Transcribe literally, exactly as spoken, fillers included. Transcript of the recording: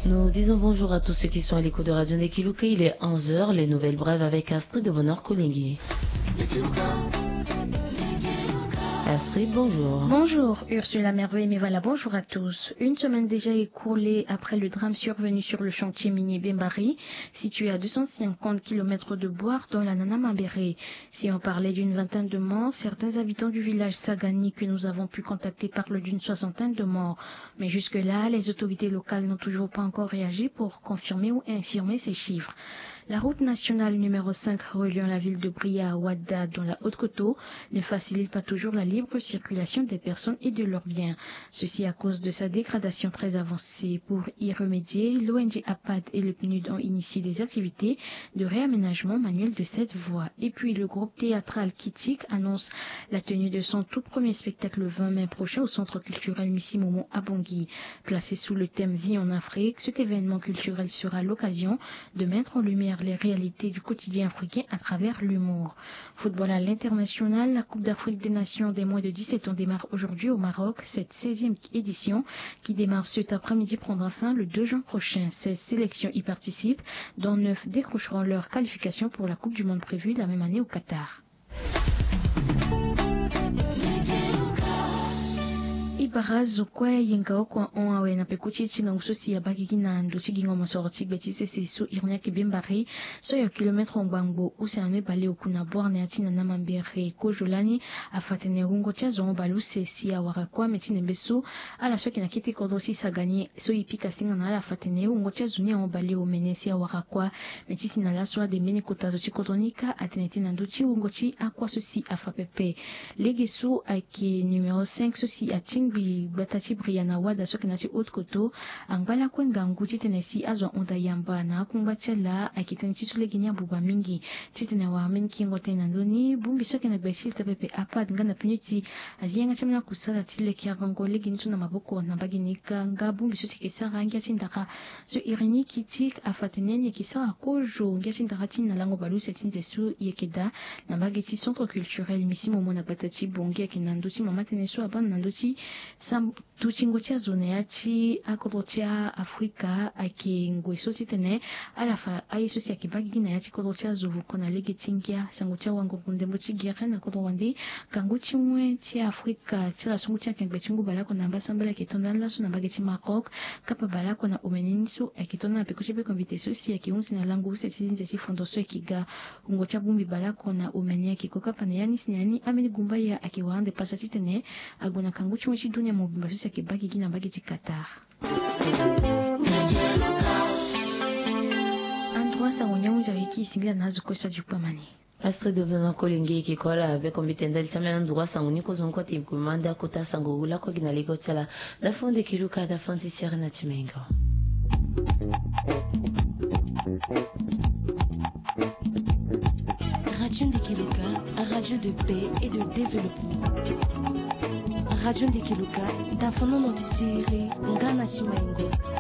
Nous disons bonjour à tous ceux qui sont à l'écoute de Radio Ndekiluka. Il est onze heures, les nouvelles brèves avec Astrid de Bonheur Kolingi. Astrid, bonjour. Bonjour Ursula Merveille, mais voilà, bonjour à tous. Une semaine déjà écoulée après le drame survenu sur le chantier minier Bembari, situé à deux cent cinquante kilomètres de Bouar, dans la Nana Mambéré. Si on parlait d'une vingtaine de morts, certains habitants du village Sagani que nous avons pu contacter parlent d'une soixantaine de morts. Mais jusque-là, les autorités locales n'ont toujours pas encore réagi pour confirmer ou infirmer ces chiffres. La route nationale numéro cinq reliant la ville de Bria à Ouadda, dans la Haute-Koto, ne facilite pas toujours la libre circulation des personnes et de leurs biens. Ceci à cause de sa dégradation très avancée. Pour y remédier, l'O N G APAD et le PNUD ont initié des activités de réaménagement manuel de cette voie. Et puis, le groupe théâtral Kitik annonce la tenue de son tout premier spectacle le vingt mai prochain au centre culturel Missi Momo à Bangui. Placé sous le thème Vie en Afrique, cet événement culturel sera l'occasion de mettre en lumière les réalités du quotidien africain à travers l'humour. Football à l'international, la Coupe d'Afrique des Nations des moins de dix-sept ans démarre aujourd'hui au Maroc. Cette seizième édition, qui démarre cet après-midi, prendra fin le deux juin prochain. Seize sélections y participent, dont neuf décrocheront leur qualification pour la Coupe du Monde prévue la même année au Qatar. I bara zo kue ayenga oko ahon awe na peko ti e ti ngangu so si abaa gigi na ndo ti gingo mosoro ti gbe ti sese so iri ni ayeke Bembari, so ayo kilometre ngbangbo use na no e baleoku na bore na ya ti Nana Mambéré. Kozo lani afa tene wungo ti azo ahon baleuse si awara kue ame ti nembe so ala so ayeke na kete kodro ti Sagani so e pika singa na ala afa tene wungo ti azo ni ahon baleomene si awara kue. Me ti si na laso ade mbeni kota zo ti kodro ni kâ atene tene na ndö ti wungo ti akua so si afa pepe. Lege so ayeke numéro cinq so si atingbi gbata ti Bria na Ouadda so ayeke na ya ti Haute-Koto angba lakue ngangu titene si azo ahunda yamba na akungba ti ala. Ayeke tënë ti so lege ni abuba mingi titene awara mbeni kingo tënë na ndö ni. Bongbi so ayeke na gbe ti leta pepe APAD nga na PNUD ti azi yanga ti ambeni akusala ti leke agongo lege ni so na maboko na mbage ni kâ. Nga bongbi so si ayeke sara ngia ti ndara so iri ni Kitik afa tene ni ayeke sara kozo ngia ti ndara ti ni na lango baleuse ti nze so e yeke daa na mbage ti centre culturel Missi Momo na gbata ti Bangui. Ayeke na ndö ti mama tënë so abâ na ndö ti sam- dutingo ti azo na ya ti akodro ti Afrika. Ayeke ngoi so titene ala fa aye so si ayeke baa gigi na ya ti kodro ti azo vuko na lege ti ngia. Sango ti awango-ndembo ti gere na kodro wande, ngangu ti wen ti Afrika ti ala so ngu ti akengbe ti ngu baleoko na mbasambala ayeke to ndani laso na mbage ti Maroc. Kapa baleoko na omene ni so ayeke to ndani na peko ti beko invité so si ayeke hunzi na lango use ti nze ti fondo so ayeke ga. Wungo ti abongbi baleoko na omene ayeke ko kapa na ya ni si na ya ni ambeni gumbaya ayeke wara ande pasa titene ague na kangu ti wen ti dunia mobimba so si ayeke baa gigi na mbage ti Qatar. Androit sango ni ahunzi ayeke e singila na azo kue so adi kpamani. Astrid Obiono Kolingi e yeke kue ala beko mbite ndali ti ambeni androit sango ni kozoni kue ate e gue ma nda kota sango wu lakue gi na lege ti ala. Dafa Ndekiluka, dafa ti sere na ti mengo. Radio Ndekiluka, radio de paix et de développement. Radio Ndekiluka, dafa nono ti sere nga na ti mengo.